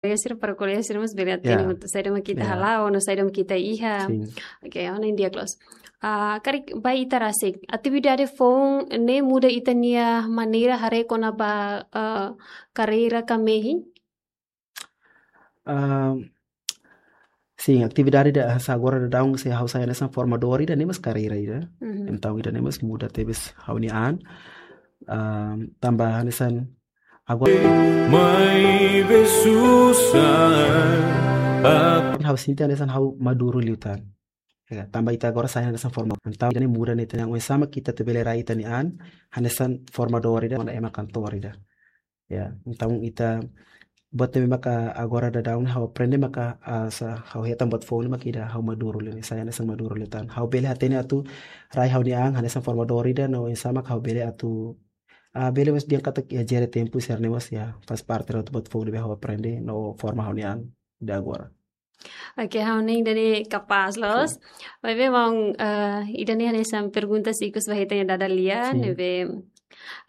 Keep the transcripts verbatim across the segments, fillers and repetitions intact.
kolega sira, para kolega sira mós bele hatene, ya, saida mak ita, ya, hala'o, no saida mak ita iha. Sin. Oke, ha'u hanoin di'ak loos. Ah, karik ba ita rasik, atividade foun ne'e muda ita-nia maneira haree kona-ba, ah, karreira ka mehi? Ah, sin, atividade ida agora daudaun se ha'u sai hanesan formadór ida ne'e mós karreira ida. Mhm. Entaun ida ne'e mós muda tebes ha'u-nia an. Ah, tanba hanesan agora. Mai besusa. Ha'u sente hanesan ha'u maduru liután. Ya, tanba ita agora sai hanesan formadór. Entaun ida ne'e muda ne'e, entaun oinsá mak ita atu bele rai ita-nia an hanesan formadór ida, manda ema kantór ida. Ya, entaun ita buat ne'ebé maka agora daudaun ha'u aprende maka, ah, sa ha'u hetan buat foun ne'e maka ida ha'u maduru liu, sai hanesan maduru liután. Ha'u bele hatene atu rai ha'u-nia an hanesan formadór ida no oinsá mak ha'u bele atu, ah, bele mós dehan katak ya jere tempu sira-ne'e mós ya faz parte ida atu buat foun ne'ebé ha'u aprende no forma ha'u-nia an ida agora. Oke, ha'u hanoin ida ne'e kapás loos. Sin. Maibé maun, eh, ida ne'e hanesan pergunta ikus ba ita-nia dada lia, sin, ne'ebé,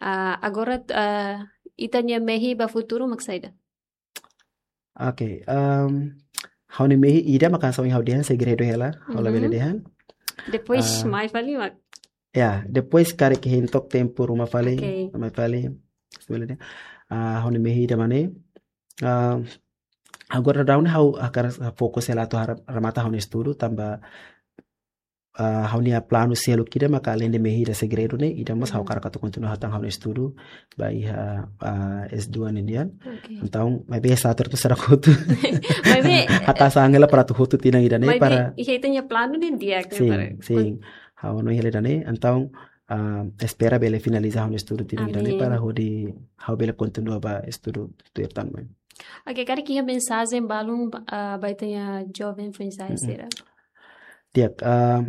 ah, agora, ah, ita-nia mehi ba futuru mak saida? Oke, em, ha'u-nia mehi ida mak hanesan ohin ha'u dehan segredu hela, ha'u labele, mhm, dehan. Depois, ah, mai fali mak? Ya, depois karik hein to'ok tempu ruma fali, oke, mai fali. Bele dehan. Ah, ha'u-nia mehi ida mak ne'e. Ah, agora daudaun ha'u hakarak fokus hela atu har-, remata ha'u-nia estudu tanba, ah, ha'u-nia planu seluk ida maka aleinde mehi ida segredu ne'e, ida mós ha'u, mhm, hakarak atu kontinua hatán ha'u-nia estudu ba iha, ah, S dua nian. Oke. Entaun, maibé satur tu sarakutu. Maibé, hata sangela para atu hotu tinan ida ne'e, maibé para iha ita-nia planu ne'e di'ak, sin, para sin. Kon- Ha'u hanoin hela ida ne'e, entaun, ah, espera bele finaliza ha'u-nia estudu tinan ida ne'e, amin, para hodi ha'u bele kontinua ba estudu tuir tan mai. Oke, karik iha mensajen balun ba, ah, ba ita-nia joven foin-sa'e, mm-mm, sira? Di'ak, ah,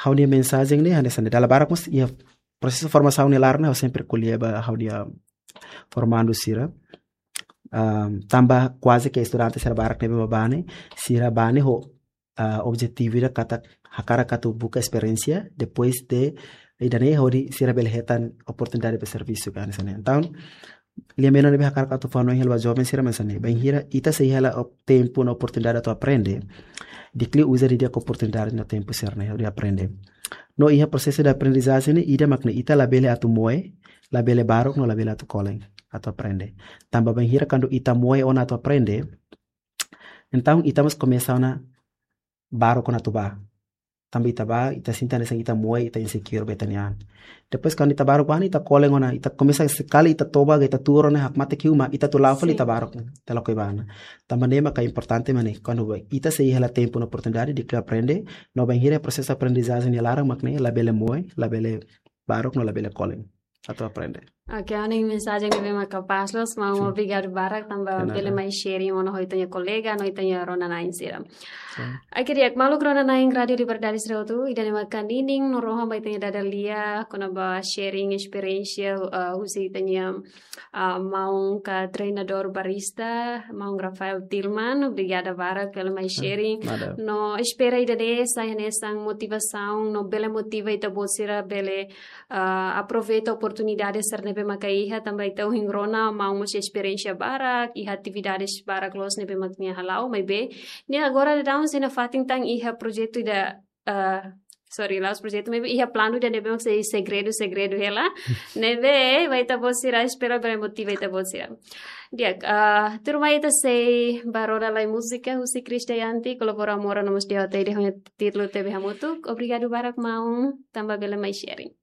ha'u-nia mensajen ne'e hanesan ne'e, dala barak mós iha prosesu formasaun nia laran ne'e ha'u sempre ko'alia ba ha'u-nia formandu sira. Ah, tanba kuaze ke estudante sira barak ne'ebé mak bá ne'e, sira bá ne'e ho ah, objetivu ida katak hakarak atu buka esperiénsia, depois de ida ne'e hodi sira bele hetan oportunidade ba servisu ka hanesan ne'e. Entaun, lia-menon ne'ebé hakarak atu fó-hanoin hela ba joven sira mak hanesan ne'e. Bainhira ita sei hela op-, tempu no oportunidade atu aprende, di'ak liu uza didi'ak oportunidade no tempu sira-ne'e hodi aprende. No iha prosesu de aprendizajen ne'e, ida mak ne'e ita labele atu moe, labele baruk no labele atu kolen atu aprende. Tanba bainhira kuandu ita moe ona atu aprende, entaun ita mós komesa ona baruk ona atu bá. Tanba ita bá, ita sente hanesan ita moe, ita insecure ba ita-nia an. Depois kuandu ita baruk bá ne'e, ita kolen ona, ita komesa sekali ita toba, ita tuur ona, hakmatek iha uma, ita atu la'o fali, sin, ita baruk, ita lakohi bá ona. Tanba ne'e maka importante mak ne'e, kuandu bá, ita sei hela tempu no oportunidade de aprende, no bainhira prosesu aprendizajen nia laran mak ne'e, labele moe, labele baruk no labele kolen atu aprende. Oke, ha'u hanoin mensajen ne'ebé mak kapás loos, maun, sin, obrigadu barak tanba, de nada, bele mai sharing ona ho ita-nia kolega, no ita-nia rona-na'in sira. Sin. Oke, di'ak, maluk rona-na'in Rádio Liberdade sira hotu, ida ne'e maka ninin no rohan ba ita-nia dada lia, kona-ba sharing esperiénsia, eh, husi ita-nia, ah, maun ka treinadór barista, maun Rafael Tilman, obrigada barak pela mai, ah, sharing. Nada. No espera ida ne'e sai hanesan motivasaun, no bele motiva ita-boot sira bele ah, aproveita oportunidade sira ne'ebé maka iha, tanba ita ohin rona maun mós esperiénsia barak, iha atividades barak loos ne'ebé mak nia hala'o, maibé nia agora daudaun sei nafatin tan iha projetu ida, ah, sorry, la'ós projetu, maibé iha planu ida ne'ebé mak sei segredu, segredu hela. Ne'ebé, ba ita-boot sira, espera bele motiva ita-boot sira. Di'ak, ah, tuirmai ita sei ba roda lai múzika, husi Chris Dayanti, kolabora Mora no mós D J T D, ho nia títulu Tebe Hamutuk. Obrigadu barak maun, tanba bele mai sharing.